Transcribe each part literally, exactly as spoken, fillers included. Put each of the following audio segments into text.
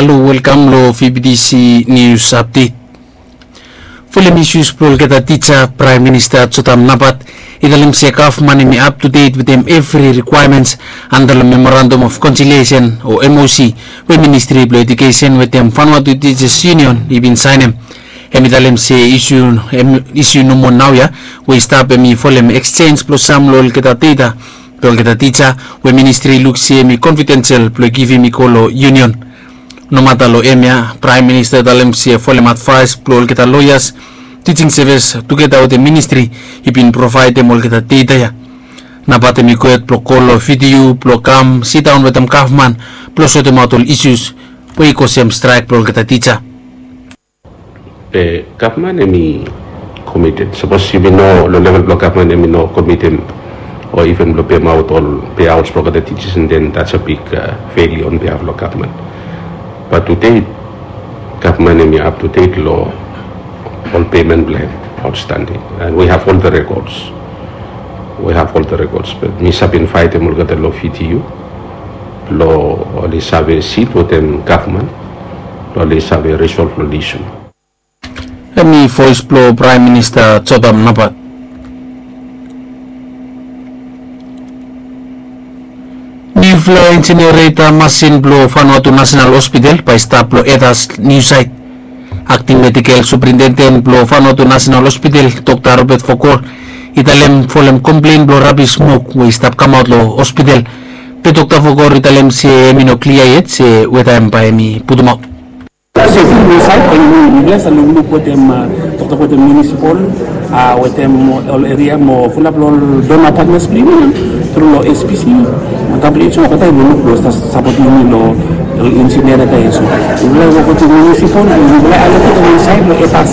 Halo, welkam long V B T C News Update. Folem isus blong olgeta tija, Praem Minista Jotam Napat i talem se gavman hemi up to date wetem evri requirements anda long Memorandum of Conciliation o M O C we Ministri blong Edukesen wetem Vanuatu Teachers Union i bin saenem. Hemi talem se isu nomo naoia we i stap hemi folem exchange blong sam long olgeta data blong olgeta tija we ministri i luk se hemi confidential blong givim i go long union. Nomata long hemia, Praem Minista i talem se folem advaes blong olgeta loeas, teaching service tugeta wetem ministri i bin provaedem olgeta data ya. Napat hemi go hed blong kol long V T U blong kam sidaon wetem gavman blong sotemaot ol isus we i kosem straek blong olgeta tija. Gavman hemi committed. Sapos yumi no long level blong gavman hemi no committed o even blong pemaot ol payouts blong olgeta teachers, and then that's a big failure on behalf blong gavman. But today gavman hemi up to date long ol payment blong hem outstanding, and we have all the records. We have all the records, but mi save invaetem olgeta long V T U blong oli save sit wetem gavman blong oli save resolve long isu. Hemi voes blong Praem Minista Jotam Napat. Niufala insinireta masin blong Vanuatu National Hospital bae i stap long Etas niu saet. Akting medikel suprintenden blong Vanuatu National Hospital, Dokta Robert Vokor, i talem folem komplen blong rabis smok we i stap kamaot long hospital. Be Dokta Vokor i talem se hemi no klia yet se weta hem bae hemi putumaot. Sefti long saed bae yumi, yumi save lukluk wetem, toktok wetem munisipal, wetem ol eria mo fulap long ol donor partners blong yumi, tru long S P C mo W H O, olgeta i lukluk blong sapotem yumi long ol insinireta ya. So yumi laik wok wetem munisipal, yumi laik aloketem wan saed long Etas,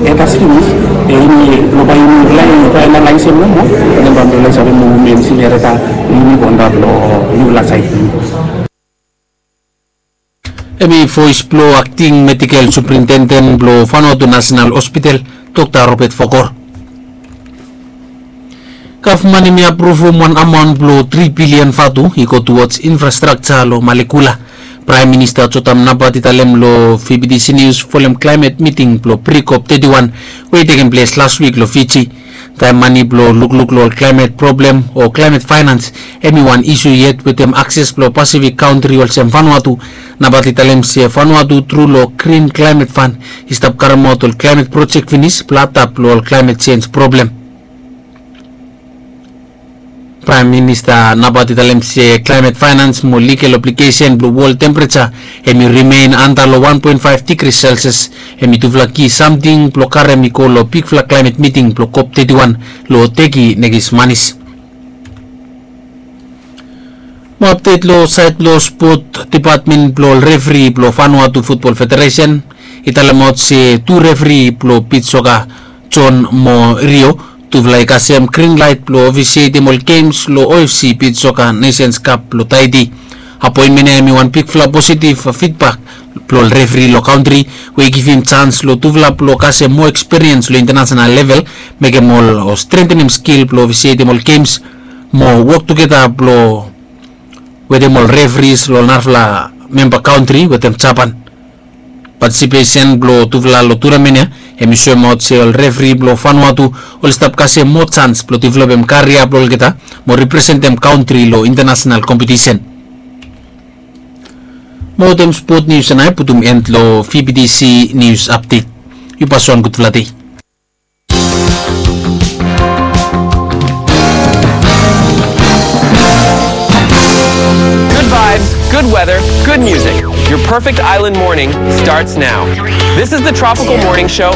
Etas finis. Be yumi, blong bae yumi laik finalaesem nomo, then bae yumi laik save muvum insinireta blong yumi go antap long niufala saed. Hemi voes blong akting medikel suprintenden blong Vanuatu National Hospital, Dokta Robert Vokor. Gavman hemi apruvum wan amaon blong tri bilian vatu i go towards infrastructure long Malekula. Praem Minista Jotam Napat i talem long V B T C News folem klaemet miting blong pre-COP thirty-one we i tekem ples las wik long Fiji. Taem mane blong lukluk long ol klaemet problem o klaemet faenans hemi wan isu yet wetem akses blong Pasifik kantri olsem Vanuatu. Napat i talem se Vanuatu tru long Green Climate Fund i stap karemaot ol klaemet projek finis blong atap long ol klaemet jenj problem. Praem Minista Napat i talem se klaemet faenans mo ligal obligesen blong wol tempereja hemi rimen anda long wan poen faef digri Celsius. Hemi tufala ki samting blong karem i go long bigfala klaemet miting blong COP thirty-one long Teki nekis manis. Mo apdet long saed blong spot, depatmen blong ol refri blong Vanuatu Futbol Federesen i talemaot se tu refri blong bit soka, John mo Rio, tufala i kasem grin laet blong ofisietem ol gems long O F C Bit Soka Nations Cup blong Taiti. Apoenmen ya hemi wan bigfala positiv fidbak blong ol refri long kantri we i givim jans long tufala blong kasem moa ekspiriens long intanasenal level, mekem ol o strengtenem skil blong ofisietem ol gems mo wok tugeta blong wetem ol refris long ol narafala memba kantri wetem Japan. Patisipesen blong tufala long tunamen ya hemi soemaot se ol refri blong Vanuatu oli stap kasem moa jans blong developem karia blong olgeta mo representem kantri long intanasenal kompetisen. Mo wetem spot nius ya nao i putum en long V B T C Nius Apdet. Yu pas wan gudfala dei. Good vibes, good weather, good music. Your perfect island morning starts now. This is the Tropical Morning Show